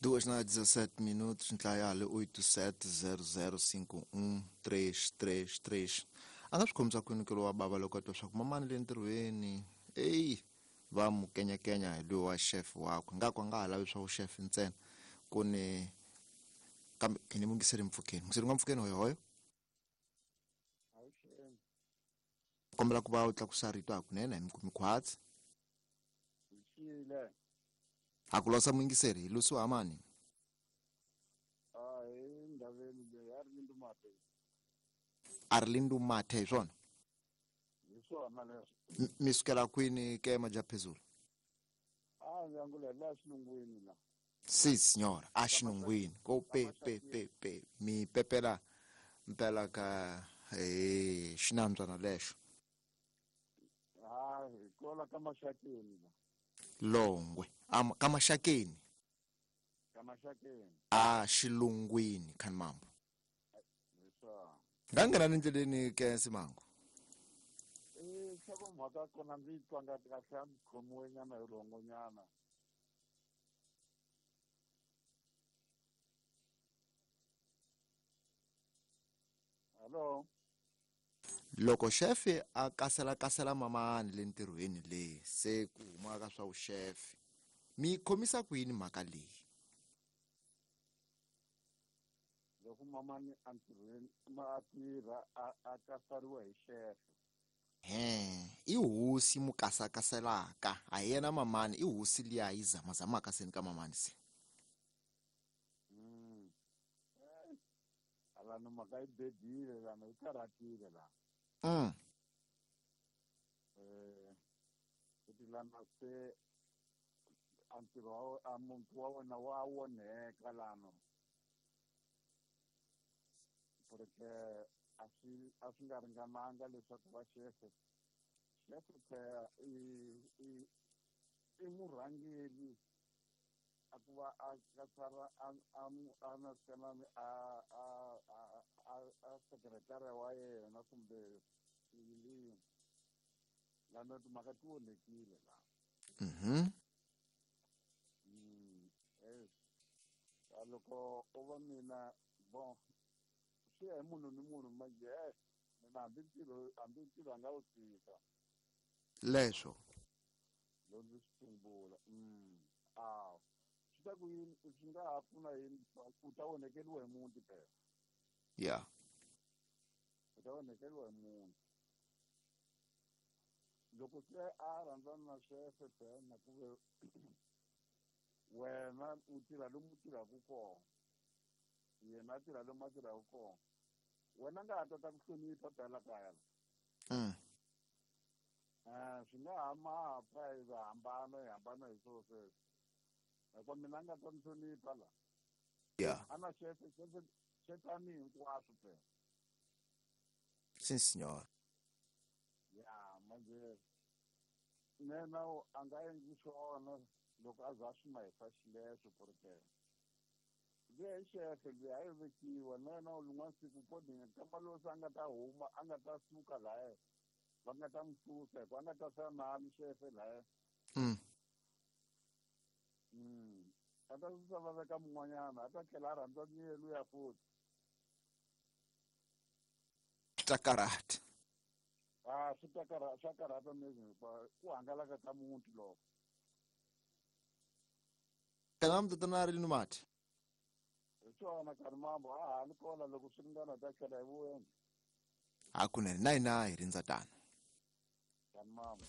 2 na 17 minutos, ntlayale 87005133. A nga swi khomisa kwini ke lowa bava loko a twa swa ku mamani le ntirhweni eyi va mu kenyakenya hi loyi wa chef wakwe, ngaku a nga ha lavi swa vuxefe ntsena ku ni kambe ni mungiseri mpfukeni mungiseri nga mpfukeni hoyohoyo. Kombela ku va u tlakusa rito hakunene hi mikhwatsi a ku losa muyingiseri hi lusiwa hamani a ri lindu mathe hi swona mi sukela kwini ke majaphezulu? Si signora, a xilungwini ko pe pe pe pe mi pepela mpela ka xinambyana lexo Longwe ka Maxakeni a xilungwini khani mambo nga nghena ni ndleleni ke Simango. Mhaka kona ndzi twa nga kahle a ndzi khomiwe nyana hi rhongonyana. Hello. Loko xefe a kaselakasela mamani le ntirhweni leyi se ku huma ka swa vuxefe, mi khomisa ku yini mhaka leyi? Loko mamani a ntirhweni a tirha a kasariwa hi xefe. I hosi mu kasakaselaka, a hi yena mamani, i hosi liya yi zamazamaka seni ka mamani se. Alano mhaka yi bedile lana yi karhatile la. Kuti lana se a ntirho wa muntu wa wena wa onheka lano. Porque a swi nga ringananga leswaku va xefe. Xefe phela i murhangeri a ku va a kasara a a a sekretari wa yena kumbe yini. Lana timhaka ti onhekile la. Loko u va mina bon swi ya hi munhu ni munhu manje mina hambi ntirho a nga wu tshika. Leswo loko ndzi swi sungula swi ta ku yini swi nga ha pfuna yini u ta onhekeriwa hi muti phela. Yeah. U ta onhekeriwa hi muti. Loko se a rhandzana na xefe phela na ku ve wena u tirha lomu u tirhaka kona, yena a tirha lomu a tirhaka kona, wena nga ha tata ku hlonipha phela kaya la. Swi nga ha ma pfa hi hambana hi hambana hi swo sweswo. Hikuva mina a nga ta ni hlonipha la. Yeah. A na xefe xefe a ni hinkwaswo phela. Si signora. Ya manje nena a nga endli swona loko a za swi mahisa xileswo porque luya i xefe luya a yi vekiwa na yena lin'wana siku podini kamba loyi se a nga ta huma a nga ta suka laya va nga ta n'wi susa hikuva a nga ta sala na xefe laya. A ta susa va veka mun'wanyana a ta tlhela a rhandza ni luya futhi. Ta karhata. Swi ta karhata, swa karhata hikuva ku hangalaka ka muti loko. Kana mutata ri ni mati. Hi swona karhi mambo a ha ni kona loko swi ringana ta tlhela hi vuya. Hakunene na hina hi rindza tano. Karhi mambo.